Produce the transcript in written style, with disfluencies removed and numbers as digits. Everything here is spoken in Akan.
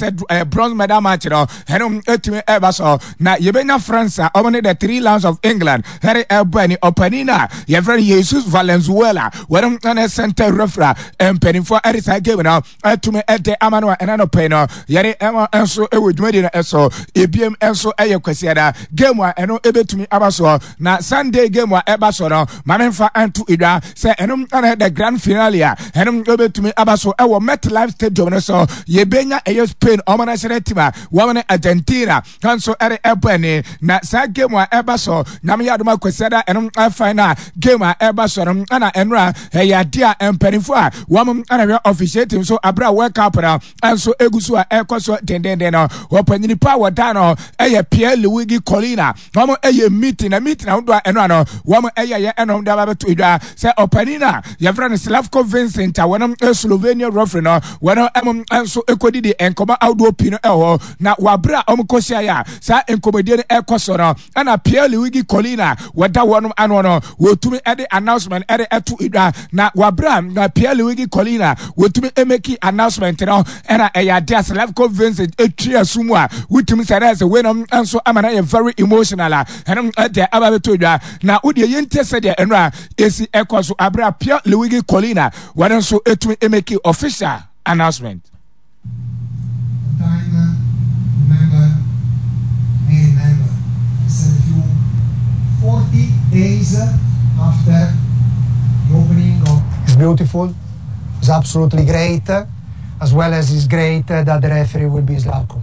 Sɛ bronze medal match no ɛno ɛtumi ɛba so na yɛbɛnya France a wɔn ne the Three Lions of England ɛre ɛbɔ ani. Ɔpanin a yɛfrɛ no Jesus Valenzuela, wɔn ɛne center referee a mpanimfoɔ ɛde saa game no ɛtumi ɛde ama no a ɛna no pɛn no yɛde ɛma nso ɛwɔ dwumadi no ɛso. Ebiem nso ɛyɛ Kwasiada game a ɛno ɛbɛtumi aba soɔ, na Sunday game a ɛba so no, maame nfa nto edwa sɛ ɛno ɛna the grand finale a ɛno ɛbɛtumi aba so ɛwɔ MetLife Stadium no so. Yɛbɛnya ɛyɛ Spain ɔmo national team a wɔn ne Argentina nso ɛde ɛbɔ ani, na saa game a ɛba so, Nyame yɛ adom Akwasiada, ɛno final game a ɛba so no. Ɛna ɛnora ɛyɛ adeɛ a mpanimfoɔ a wɔn ɛna hwɛ officiating so abere a World Cup no nso egu so a ɛkɔ so dendenden no, wɔpanyini pa a wɔda no ɛyɛ Pierre Luigi Collina. Wɔn ɛyɛ meeting na meeting ahodoɔ a ɛno ano wɔn ɛyɛ yɛ ɛnom de aba bɛto edwa sɛ ɔpanin a yɛfrɛ no Slavko Vincent a wɔn Slovenia referee no, wɔn ɛmo nso ɛkɔdidi nkɔmɔ ahodoɔ pii no ɛwɔ hɔ. Na wɔabere a wɔn kɔhyia yɛ a saa nkɔmɔdie no ɛkɔ so no, ɛna Pierre Luigi Collina wɔda wɔn ano no wɔtumi ɛde announcement ɛde ɛto edwa. Na wɔabere a na Pierre Luigi Collina wɔtumi ɛmɛki announcement no, ɛna ɛyɛ ade a Slavko Vincent etwi aso mu a wotumi sɛ ɛna sɛ weinom nso ama no yɛ very emotional a ɛno ɛde aba bɛtɔ dwa. Na wodeɛ yɛntie sɛdeɛ ɛno a ɛsi ɛkɔ so abere a Pierre Luigi Collina wɔn nso etumi emeki official announcement. Time, remember, may remember, I said a few 40 days after the opening of. It's beautiful, it's absolutely great, as well as it's great that the referee will be Slavko.